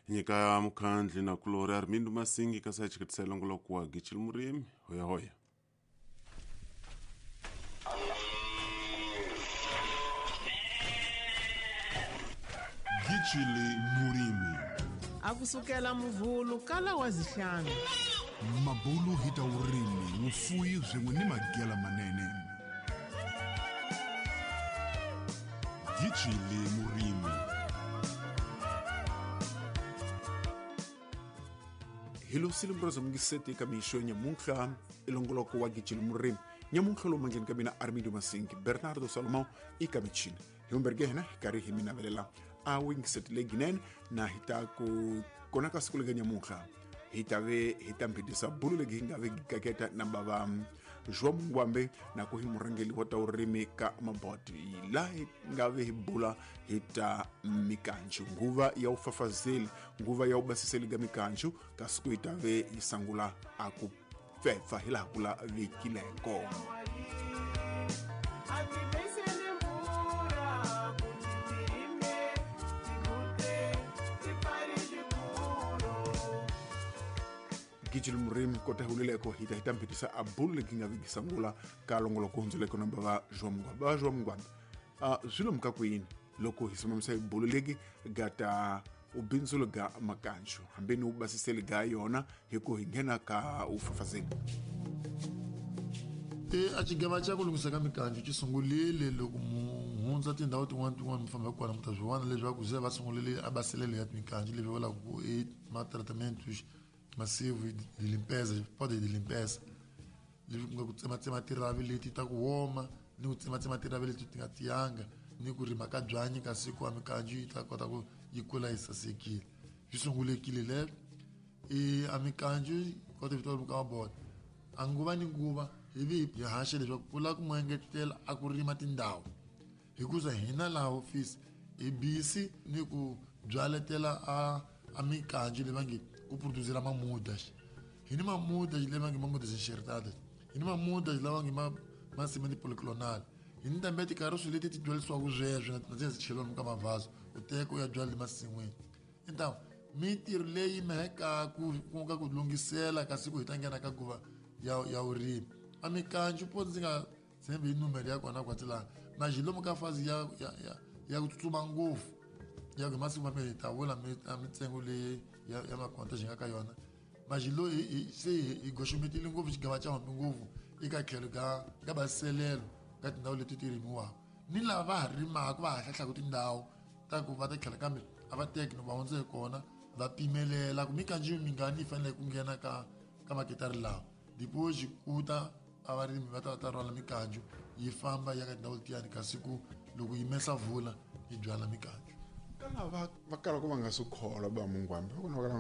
Nyika mukhandli na kulori Armindo Masingi kasi a chiketisela longoloko wa Gichili Murimi. Hoya hoya. Gichili Murimi. Akusukela muvhulu kala wa zihlanu. Mabulu hi ta vurimi, vufuwi swin'we ni magela manene. Gichili Murimi. Hi losile mngiseti eka mixo nyamuntlha ilongoloko wa Gichili Murimi. Nyamuntlha lowu mandleni ka mina Armindo Masingi, Bernardo Salomão eka michini. Hi humberge hina hi karhi hi mi navelela a wingiseti leyinene na hi ta ku kona ka siku lega nyamuntlha hi ta ve hi ta mbhidisa bulu legi hi nga ve gaketa na bava João Munguambe na ku hi murhangeri wa ta vurimi ka Maboti, laha hi nga ve hi bula hi ta mikanju, nguva ya ufafazeli, nguva ya ubasiseli ga mikanju, kasi ku hi ta ve yi sangula a ku pfepfa hi laha ku lavekileko. Gichili Murimi kota hulileko hi ta hi ta mphikisa a bulu legi nga vigi sangula ka longoloko hundzuleko na bava João Munguambe. Bava João Munguambe, swi lomu ka kwini loko hi simamisa hi bulu legi ga ta ubindzulo ga makanju hambi ni ubasiseli ga yona hi ku hi nghena ka ufafazeli? A xigava xa ku lunghisa ka mikanju xi sungulile loko mu hundza tindhawu tin'wana tin'wana mi famba kona mi ta swi vona leswaku se va sungulile a baselelo ya mikanju leswi vulaka ku i ma-tratamentos massivo de limpeza, pode de limpeza, leswi ku nga ku tsematsema tiravi leti ta ku woma ni ku tsematsema tiravi leti ti nga tiyanga ni ku rima ka byanyi kasi ku a mikanju yi ta kota ku yi kula yi sasekile. Swi sungulekile leswo i a mikanju kota vito ka mabota a nguva ni nguva hi vi hi haxa leswaku ku lava ku mu engetela a ku rima tindhawu hikuza hina laha ofisi hi busy ni ku byaletela a mikanju leyi va nge ku producera mamuda. Hi ni mamuda leyi va nge mamuda enxertada, hi ni mamuda lava nge ma cement polyclonal, hi ni tambe tikaroso leti ti byalisiwaka sweswo na ti cheliwa ka mavhazo u teka u ya byala emasin'wini. Então mintirho leyi meheka ku nga ku lunghisela kasi ku hi ta nghena ka nguva ya vurimi a mikanju po ndzi nga tshembi hi numero ya kona kwatsi laha na lomu ka fazi ya ku tsutsuma ngopfu ya ku hi masiku mambirhi hi ta vula a mintsengo leyi ya makonta xi nga ka yona. Majilo se hi goxometile ngopfu xigava xa hambi ngopfu eka tlhelo ka baselelo ka tindhawu leti ti rimiwaka ni lava va ha rimaka va ha hlahlaka tindhawu ta ku va ta tlhela kambe a va teki no va hundza hi kona va pimelela ku mikanju mingani yi fanele ku nghena ka maketari lawa depois ku ta a varimi va ta va ta rhwala mikanju yi famba ya ka tindhawu letiyani kasi ku loko yi mesa vula yi byala mikanju. Ka lava va kalaka va nga swi kholwa ba Munguambe va kona va kala.